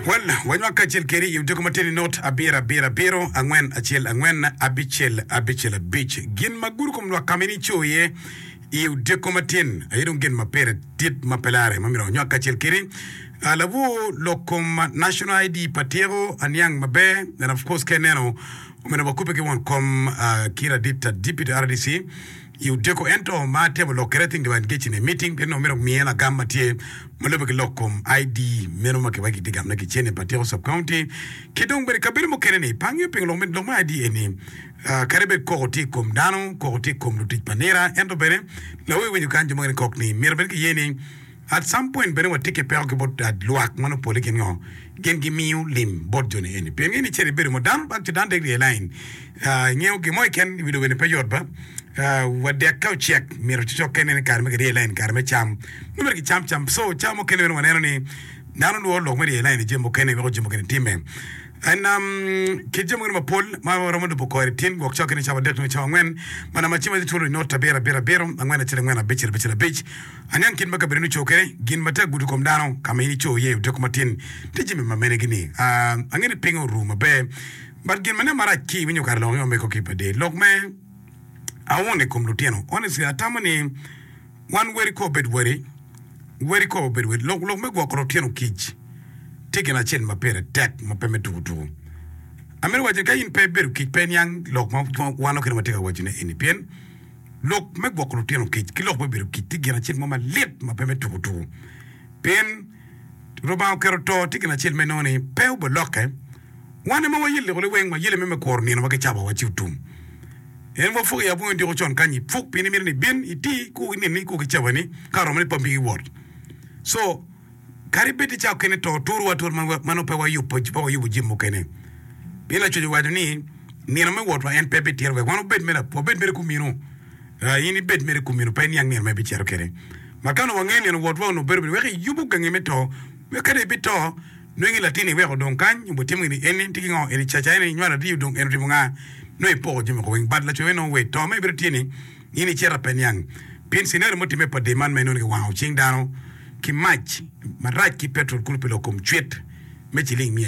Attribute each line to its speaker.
Speaker 1: Well, wanywak kacel kedi i odiko matidi not abiro abiro abiro angwen acel angwen abicel abicel abic. Gin ma gudo kom lwak ka ma in ico iye i odiko matin aye dong gin ma pire dit ma pe lare ma myero wanywak kacel kedi. Uh, lawor lok kom National ID pa tyeko aniang maber and of course ka ineno omyero wakubbe ki won kom uh, ki ladit Deputy RDC i odiko ento ma atemo lok kwede I think they were engaged in a meeting pien onongo myero omiye lagam ma tye ma lube ki lok kom ID meno ma kiwaco kitye gamone ki cene pa Tiko Sub County ki dong bene kabedo mukene ni pe angeyo pingo lok me lok me ID eni ah, kadi bed koko tye i kom dano koko tye i kom lutic pa nira ento bene lawi winyo kany jo mukene kok ni myero bene kiye ni At some point bene watye ki peko ki bot lwak ma nongo pole gin ngo? Gin gimiyo lim bot joni eni. Pien in icito ibedo mo dano actually dano dek rye line ingeyo gin mo keken i wi lobo eni pe yot ba wa dek ka ocek myero cocokke inen kare me kirye line kare me cam nongo myero kicam cam so cawa mukene bene waneno ni dano lworo lok me ryeyo line i jami mukene weko jami mukene timme. And um, kit jami mukene mapol ma waromo lubo kore tin gwok cawa kene cawa adek nyo cawa angwen ma namba cim aye twolo i not abiro abiro abiro angwen acel angwen abicel abicel abic Aniang kit ma kabedoni oco kwede, gin ma tye ka gudo kom dano, ka ma in ico iye i odiko matin, tye jami ma menegi-ni. Angeyo ni piny oru maber, but gin ma nen marac ki iwinyo kare lok ni omego ki pa del lok me aun i kom lutino. Honestly, atamo ni wan weri kor obed weri, weri kor obed weri. Lok lok me gwoko lutino kic tye gin acel ma pire tek ma pe me tuku tuku. Amito waco ni ka in pe ibedo kic pe iniang lok ma wan okene watye ka wacone eni pien Lok me gwoko lutino kic ki lok me bedo kic tye gin acel mo malit ma pe me tuko tuko. Pien Lubanga oketo to tye gin acel ma inongo ni pe obilokke. Wan aye ma wayelle kodi weng wayelle me me kuro nino ma kicabowa ci otum. En wapuk i abwongo odiko con kany ipuk pien imito ni ibin iti ku ninni ku ki cabani ka oromo ni pampi ki wot. So Kadi bed ni cawa okene to turowa atura ma nongo pe wayubo pe wayubo jami mukene. Pien Lacwec owaco ni nino me wotwa en pe bitito wek wan wabed mere wabed mere kuminu. In ibed mere kuminu pe iniang nino ma ibicito kwede. Ma ka onongo wangeyo nino wotwa onongo bedo wek iyubo gangi me to wek kadi ibito nongo latinni iweko odong kany nyo botimo gini eni tye ki ngo eni caca eni inywalo adi odong en otimo nga nongo ipoko jami woko weng but Lacwec nongo we to ma ibedo tye ni In icito pe niang pien scenario mutimme pa dye man ma inongo ni kiwango cing dano ki mac marac ki petrol kulu pi lok kom cwit me ciling miya.